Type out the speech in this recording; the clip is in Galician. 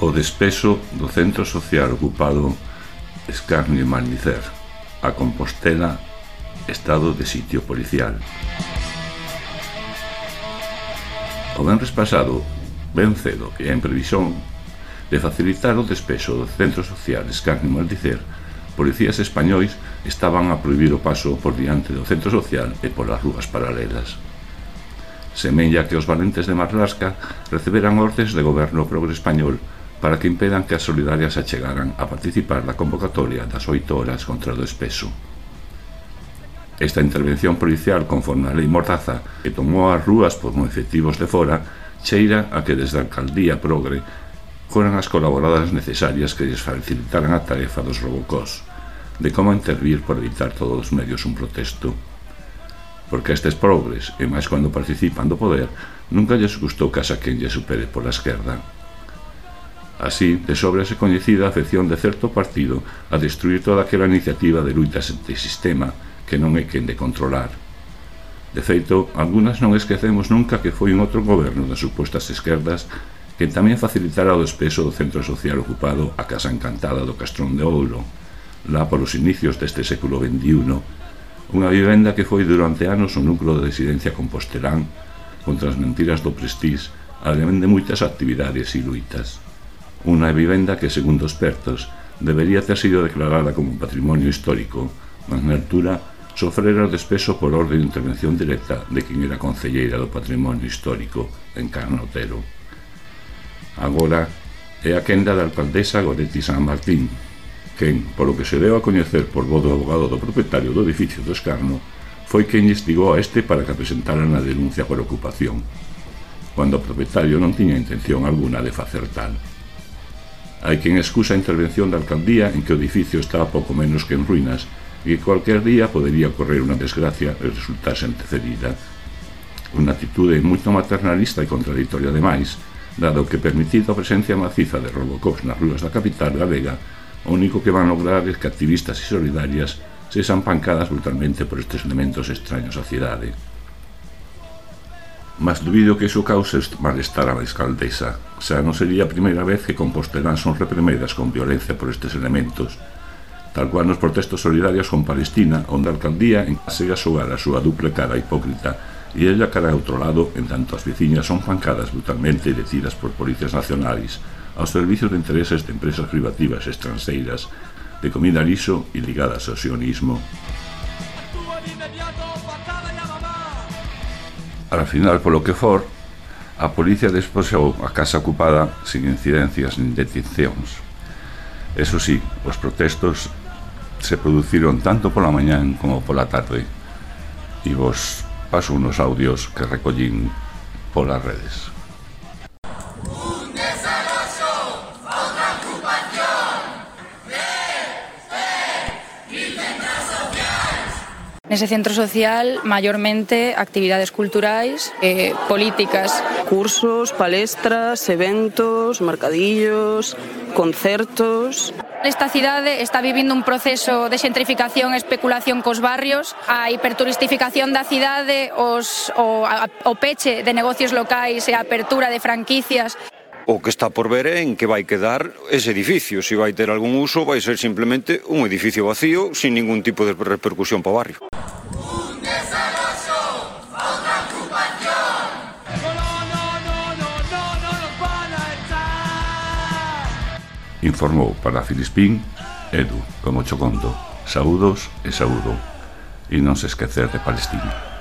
O despeso do centro social ocupado Escarnio e Malnicer, a Compostela, estado de sitio policial. O venres pasado, ben cedo e en previsión de facilitar o despeso do centro social Escarnio e Malnicer, policías españois estaban a prohibir o paso por diante do centro social e polas rúas paralelas. Semella que os valentes de Marlasca receberan ordes de goberno progre español para que impedan que as solidarias achegaran a participar da convocatoria das 8 horas contra o despeso. Esta intervención policial conforme a lei Mordaza, que tomou as rúas como efectivos de fora, cheira a que desde a alcaldía progre foran as colaboradas necesarias que lles facilitaran a tarefa dos robocós, de como intervir por evitar todos os medios un protesto. Porque a estes progres, e máis cando participan do poder, nunca lles gustou que a saquen lle supere pola esquerda. Así, de sobra se coñecida a afección de certo partido a destruir toda aquela iniciativa de luitas antisistema que non é quen de controlar. De feito, algunhas non esquecemos nunca que foi un outro goberno das supostas esquerdas que tamén facilitara o despeso do centro social ocupado a Casa Encantada do Castrón de Ouro, lá polos inicios deste século XXI, unha vivenda que foi durante anos o núcleo de residencia compostelán contra as mentiras do Prestís, ademais de moitas actividades e luitas. Unha vivenda que, segundo expertos, debería ter sido declarada como patrimonio histórico, mas na altura sofrera o despeso por orde de intervención directa de quen era concelleira do patrimonio histórico, Encarna Otero. Agora é a quenda da alcaldesa Goretti San Martín, quen, polo que se deu a coñecer por voz do abogado do propietario do edificio do Escarno, foi quen instigou a este para que presentaran a denuncia por ocupación, cando o propietario non tiña intención alguna de facer tal. Hai quen excusa a intervención da alcaldía en que o edificio estaba pouco menos que en ruínas e que cualquier día podería ocorrer unha desgracia e resultar antecedida. Unha atitude moito maternalista e contradictoria demais, dado que permitido a presencia maciza de robocós nas rúas da capital galega, o único que van lograr é que activistas e solidarias sexan pancadas brutalmente por estes elementos extraños á cidade. Mas dubido que iso cause malestar á alcaldesa, xa non sería a primeira vez que Compostelán son reprimedas con violencia por estes elementos, tal cual nos protestos solidarios con Palestina, onde a alcaldía segue a xogar a súa dupla cara hipócrita e ella cara a outro lado, en tanto as veciñas son pancadas brutalmente e detidas por policías nacionais aos servicios de intereses de empresas privativas estranxeiras de comida liso e ligadas ao sionismo. Al final, polo que for, a policía despexou a casa ocupada sin incidencias nin detencións. Eso sí, os protestos se produciron tanto pola mañán como pola tarde, e vos paso unos audios que recollín polas redes. Nese centro social, maiormente, actividades culturais, políticas. Cursos, palestras, eventos, mercadillos, concertos. Esta cidade está vivindo un proceso de xentrificación e especulación cos barrios, a hiperturistificación da cidade, o peche de negocios locais e a apertura de franquicias. O que está por ver é en que vai quedar ese edificio. Se vai ter algún uso, vai ser simplemente un edificio vacío sin ningún tipo de repercusión para o barrio. Informou para Filispín, Edu, como Chocondo. Saúdos e saúdo. E non se esquecer de Palestina.